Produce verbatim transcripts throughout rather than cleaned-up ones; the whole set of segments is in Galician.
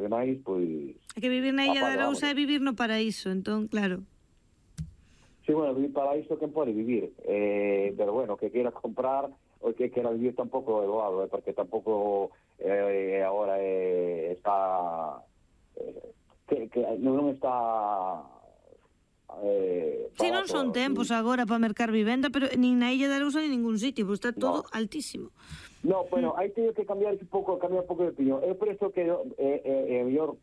demais, pois... É que vivir na Illa de Arousa é vivir no paraíso, entón, claro. Sí, bueno, vivir para isto quen pode vivir, eh, pero bueno, que queira comprar o que queira vivir tampouco é doado, eh, porque tampouco eh, agora eh, está eh, que, que non está eh, Si, sí, non son tempos agora para mercar vivenda, pero nin na Illa de Arousa nin ningún sitio, pois está todo no. altísimo. No, bueno, hai teño que cambiar un pouco, cambiar un pouco de opinión. Eu penso que é eh, eh, mellor,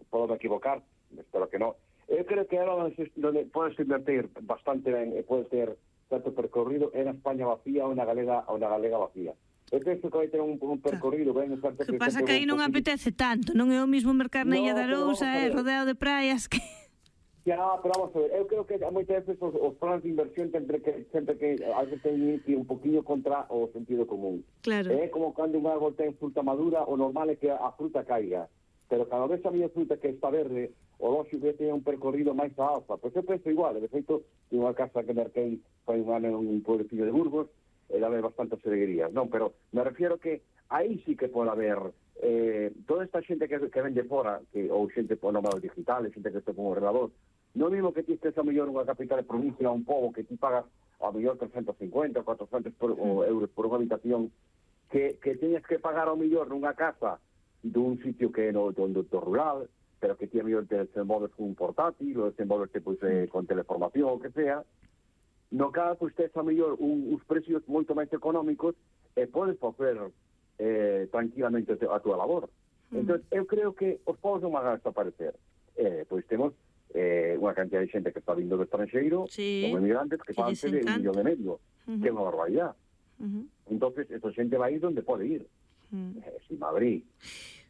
podo me equivocar, espero que non. Eu creo que era onde podes invertir bastante ben e podes ter tanto percorrido en España vacía ou na galega ou na galega vacía. Eu penso que vai ter un, un percorrido ben... O que pasa que aí non apetece tanto, non é o mismo mercar na Illa de Arousa, é rodeado de praias que... Ya, pero vamos a ver, eu creo que moitas veces os, os planes de inversión sempre que sempre que algo ten que ir un poquinho contra o sentido común. Claro. É como cando un árbol ten fruta madura, o normal é que a fruta caiga. Pero cada vez a miña fruta que está verde, o lógico que ten un percorrido máis a alfa. Pois eu penso igual, de feito, tenho unha casa que merquei foi un ano en un pueblecillo de Burgos, e dame bastantes alegrías, non? Pero me refiero que aí sí que pode haber eh, toda esta xente que, que vende fora, que, ou xente por nómadas digitales, xente que está con ordenador, non mesmo que ti estés a mellor unha capital de provincia, un pobo que ti pagas a mellor trescentos cincuenta, cuatrocentos por, mm. euros por unha habitación, que, que teñas que pagar ao mellor nunha casa dun sitio que é no, do, do, do rural, pero que ti a mellor te desenvolves con un portátil, ou desenvolves pois, eh, con teleformación, o que sea, no caso pois tes a mellor un, uns precios moito máis económicos e podes facer eh, tranquilamente a túa labor. Mm. Entón, eu creo que os povos non van a desaparecer. Eh, pois temos eh, unha cantidad de xente que está vindo do estranxeiro, sí, como emigrantes, que fan de un millón e medio, uh-huh. que é unha barbaridade. Uh-huh. Entonces, esa xente vai ir onde pode ir. Uh-huh. Eh, si Madrid,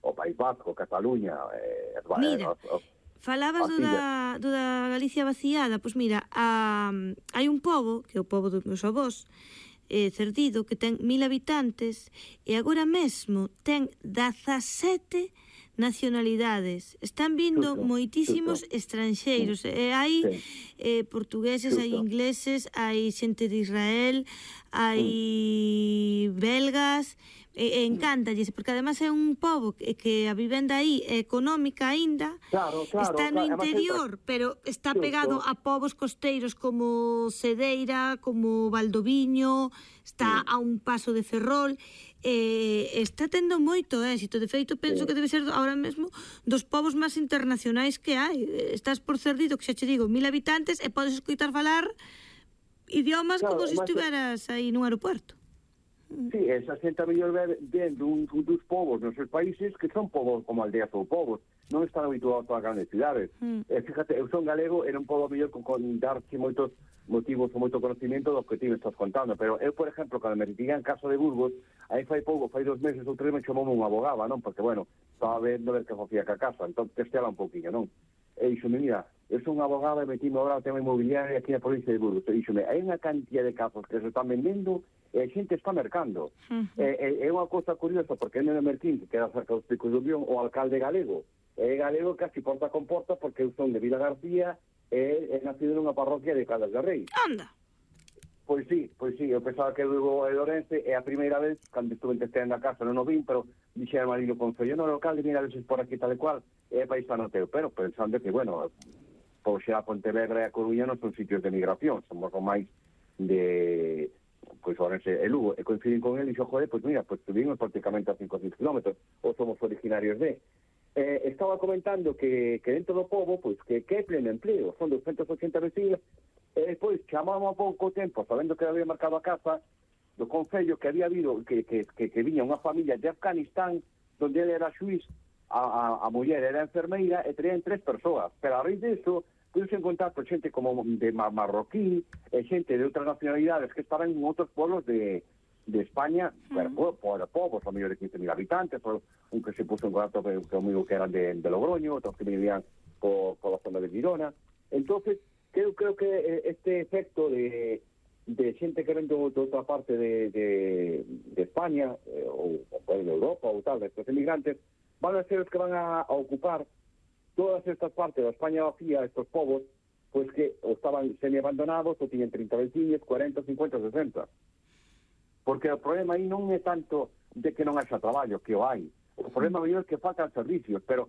o País Vasco, Cataluña... Eh, mira, eh, os, os, falabas do da, do da Galicia vaciada, pois mira, a, hai un pobo, que é o pobo dos meus avós, eh, Cerdido, que ten mil habitantes, e agora mesmo ten dezasete nacionalidades. Están vindo xusto, moitísimos xusto. estranxeiros. Sí. E hai sí. eh, portugueses, xusto. hai ingleses, hai xente de Israel, hai mm. belgas, e, e encántalles, porque además é un pobo que, que a vivenda aí é económica aínda, claro, claro, está no claro, interior, pero está xusto. pegado a povos costeiros como Cedeira, como Valdoviño, está sí. a un paso de Ferrol, eh, está tendo moito éxito. De feito, penso sí. que debe ser ahora mesmo dos povos máis internacionais que hai. Estás por Cerdido, que xa che digo, mil habitantes, e podes escoitar falar idiomas claro, como se estiveras aí nun aeropuerto. Sí, esa xente a mellor ven dun, dos povos nos seus países que son povos como aldeas ou povos, non están habituados a grandes cidades. Mm. Eh, fíjate, eu son galego, era un pobo mellor con, con darche moitos motivos ou moito conocimiento do que ti me estás contando, pero eu, por exemplo, cando me retiré en casa de Burgos, aí fai pouco, fai dos meses ou tres, me chamou unha abogada, non? Porque, bueno, estaba vendo ver que facía ca casa, entón testeala un poquinho, non? E dixome, mira, eu son unha abogada e metíme agora o tema inmobiliario aquí na provincia de Burgos. E dixome, hai unha cantidad de casos que se están vendendo e a xente está mercando. Uh-huh. É, é unha cousa curiosa, porque en el Merquín, que queda cerca dos Picos do Bión, o alcalde galego, é galego casi porta con porta, porque eu son de Vila García e é nacido nunha parroquia de Caldas de Rei. Anda! Pois sí, pois sí, eu pensaba que luego de Ourense é a primeira vez, cando estuve en testeando a casa, non o vin, pero dixe ao marido concello, non, o alcalde, mira, veces por aquí tal e cual, é paisano teu, pero pensando que, bueno, por xa a Pontevedra e a Coruña non son sitios de migración, somos máis de... pois Ourense e Lugo, e coincidín con ele e dixo, joder, pois mira, pois tuvimos prácticamente a cinco ou seis kilómetros, ou somos originarios de... Eh, estaba comentando que, que dentro do pobo, pois, que, que é pleno empleo, son doscientos ochenta vecinos, e despois chamamos a pouco tempo, sabendo que había marcado a casa, do concello que había habido, que, que, que, que viña unha familia de Afganistán, donde ele era xuiz, a, a, a muller era enfermeira, e traían tres persoas, pero a raíz disso, pude encontrar con xente como de marroquí, e xente de outras nacionalidades que estaban en outros pueblos de, de España, uh-huh. pero por povos, a mellor de quince mil habitantes, por, un que se puso en contacto conmigo que eran de, de Logroño, outros que vivían por, por la zona de Girona. Entonces, creo, creo que este efecto de, de xente que ven de outra parte de, de, de España, eh, ou, ou de Europa, ou tal, de estos emigrantes, van a ser os que van a, a ocupar todas estas partes da España vacía, estos povos, pois que ou estaban semi-abandonados, ou tiñen trinta veciños, cuarenta, cincuenta, sesenta. Porque o problema aí non é tanto de que non haxa traballo, que o hai. O problema mellor é que faltan servicios, pero